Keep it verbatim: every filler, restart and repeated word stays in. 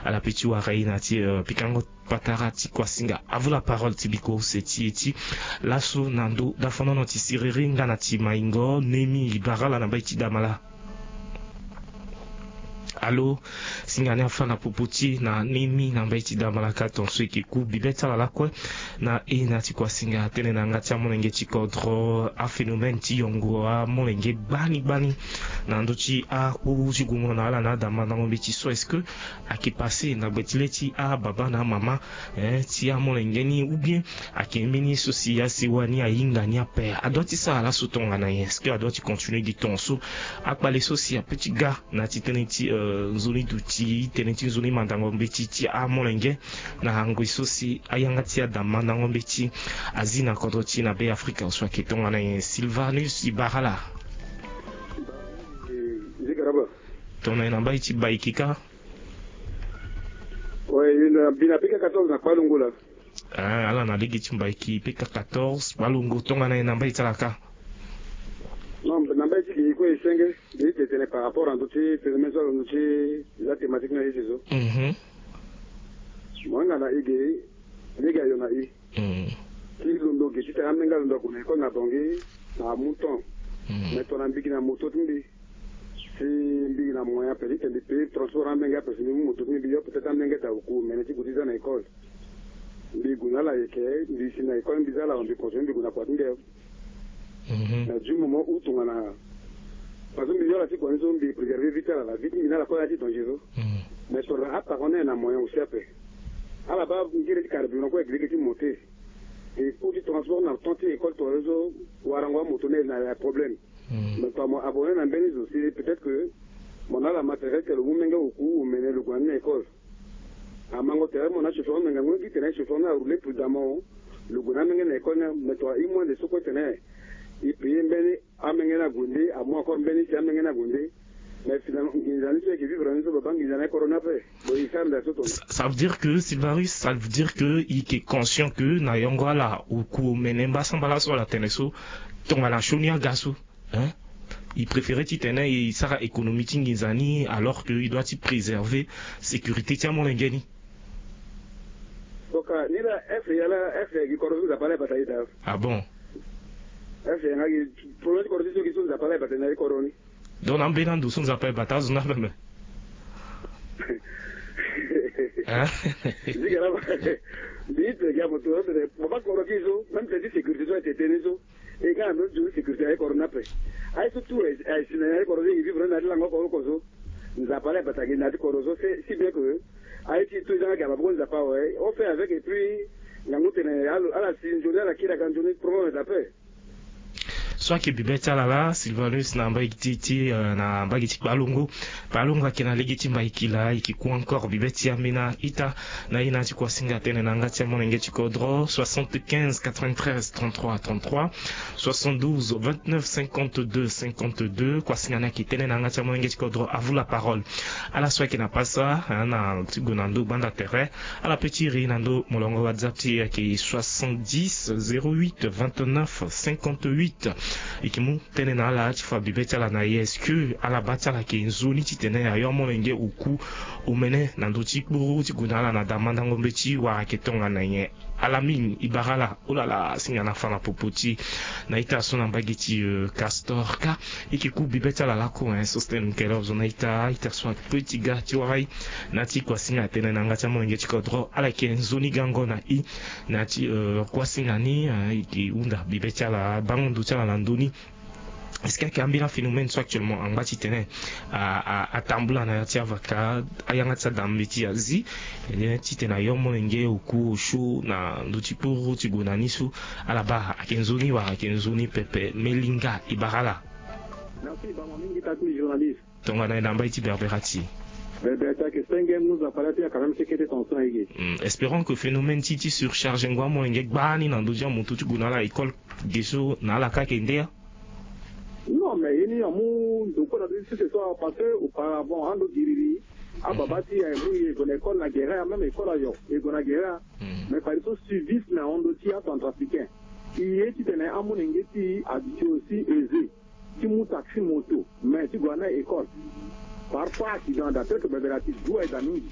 Ala pe ti wara e na ti pikango patara ti kuasinga. Avu la parole ti biko use ti e ti laso na ndo dafonono ti siriri nga na ti maingo nemi ibara ala na mbai ti damala. Alo, singa ni afa na popo ti e na nemi na mbai ti damala ka ton so e ke ku bibe ti ala lakue. Na e na ti kuasinga tene na yanga ti amolenge ti kodro aphénomène ti yongo amolenge gbani gbani na ndö ti akpuru ti gungo na ala na adamandango mbeti so est-ce que ake passe na gbe ti le ti ababa na amama ti amolenge ni ou bien ake mbeni so si asewa ni ahinga ni ape adua ti sara laso tongana nyen? Est-ce que adua ti continuer gi ton so? Akpale so si ape ti ga na ti tënë ti nzoni duti tënë ti nzoni mandango mbeti ti amolenge na ngoi so si ayanga ti adamandango mbeti azi na kodro ti e na be afrika so ake tongana nyen? Sylvanus ibara ala. Tongana nyen na mbai ti baiki ka? Mbi na pika quatorze na kpalongo la. Ala na lege ti mbaiki pika quatorze kpalongo tongana nyen na mbai ti ala ka? Non, na mbai ti ge e kue e senge. Ge e tene par rapport na ndö ti phénomène so alondo ti eza thématique na ye ti zo. Mo hinga na e ge lege ayo na e. Ti londo ge titene amenge alondo ague na école na bangi na amu temps. Mais tongana mbi gi na moto ti mbi si mbi gi na moyen ape titene mbi paye transport amenge ape si mbi mu moto ti mbi mbi yo peut-être amenge daa oku omene ti gue ti za na école. Mbi gue na ala ayeke mbi si na école mbi za ala awe mbi continue mbi gue na kua ti mbi ayo. Mais du moment où tongana parce que mbi yo ala ti kua ni so mbi préserver vie ti ala la vie ti mbi na ala kue ala ti danger so. Mais tongana aparent ni aye na moyen aussi ape ala baa ngere ti carburant kue ayeke lege ti monter. E coût ti transport na temps ti école tongana so warango amoto ni aye na problème. Mais tongana mo abonné na mbeni zo si peut-être que mo na ala matériel ti tene lo mu menge oku omene lo gue na ni na école. Amango tere mo na chauffeur ni me ngangu ni gi tene chauffeur ni aroule prudemment. Lo gue na amenge na école ni. Mais tongana e mu ande so kue tene e paye mbeni amenge ni ague nde amu encore mbeni si amenge ni ague nde. Mais finalement nginza ni so e ke vivre na ni so baba nginza ni aye corona ape. Bon e sara nda so tongana. Ça veut dire que Sylvanus, ça veut dire que e ke conscient que na yongo ala oku omene mbasambala so ala tene so tongana sioni aga so. Hein? E préféré titene e sara économie ti nginza ni alors que e doit ti préserver sécurité ti amolenge ni. Donc ni la F ya la F ya gi kodro so Nzapa la e bata e daa. Ah bon? F ya nga gi problème ti kodro ti so gi so Nzapa la e bata e na e kodro ni. Donc na mbeni ando so Nzapa e bata azo ni ameme. Hein? Zigara ba. Mbi te gi amoto tene mo baa kodro ti so même tene ti sécurité so aye tene so. E ga na ndö ti zo ni sécurité aye kodro ni ape. Aye so tout aye si na ni aye kodro so e vivre na ni na ti lango oko oko so. Nzapa la e bata gi na ni na ti kodro so si bien que aye ti tout e za nga gi amaboko ti Nzapa awe on fait avec et puis ngangu tene ala si nzoni ala kiri aga nzoni problème aye daa ape. So ayeke bibe ti ala laa Sylvanus na mbage ti ti na mbage ti kpalongo. Kpalongo ayeke na lege ti mbaiki laa e yeke ku encore bibe ti ambeni a-ita. Na ye na ya ti kuasinga tënë na yanga ti amolenge ti kodro soixante-quinze quatre-vingt-treize trente-trois trente-trois, soixante-douze vingt-neuf cinquante-deux cinquante-deux. Kuasinga ni ayeke tënë na yanga ti amolenge ti kodro à vous la parole. Ala so ayeke na pasa na ti gue na ndö gbanda tere. Ala pe ti iri na ndö molongo whatsapp ti e ayeke soixante-dix zéro huit vingt-neuf cinquante-huit. E yeke mu tënë na ala ti fa bibe ti ala na ye est-ce que ala baa ti ala ayeke nzoni titene ayo amolenge oku omene na ndö ti kpuru ti gue na ala na damandango mbeti wala ayeke tongana nyen? Ala mingi e bara ala. Olala singa na fa na popo ti e na ita so na mbage ti castor ka. E yeke ku bibe ti ala lako hein Sostène Nkelov zo na ita ita so ape ti ga ti wara e. Na ti kuasinga atene na yanga ti amolenge ti kodro ala yeke nzoni gango na e. Na ti kuasinga ni e yeke hunda bibe ti ala bango ndo ti ala na ndö ni. Est-ce que ayeke ambeni aphénomène so actuellement angba titene atambula na ya ti avaka ayanga ti ada mbeti azi titene ayo molenge oku osio na ndö ti kpuru ti gue na ni so? Ala baa ayeke nzoni wala ayeke nzoni pepe melinga e bara ala. Merci bango mingi taki journaliste. Tongana e na mbai ti berbera ti e. Berbera ti ayeke senge mu nzapa la ti ayaka même ti kete tension ayeke. Espérant que phénomène ti ti surcharge ngu amolenge gbani na ndö ti amoto ti gue na ala école. Ge so na ala ka ayeke nde ya. Non mais ye ni amu ndo kue na ndo ti sese so apasse auparavant ando giriri. Ababa ti e aye mu e gue na école na gere ya même école ayo e gue na gere ya. Mais fadeso suivisme ahon ndo ti acentrafricain. E ye titene amolenge ti e aduti aussi aisé ti mu taxi moto mais ti gue na école. Parfois accident ada tel que bebela ti du aye daa mingi.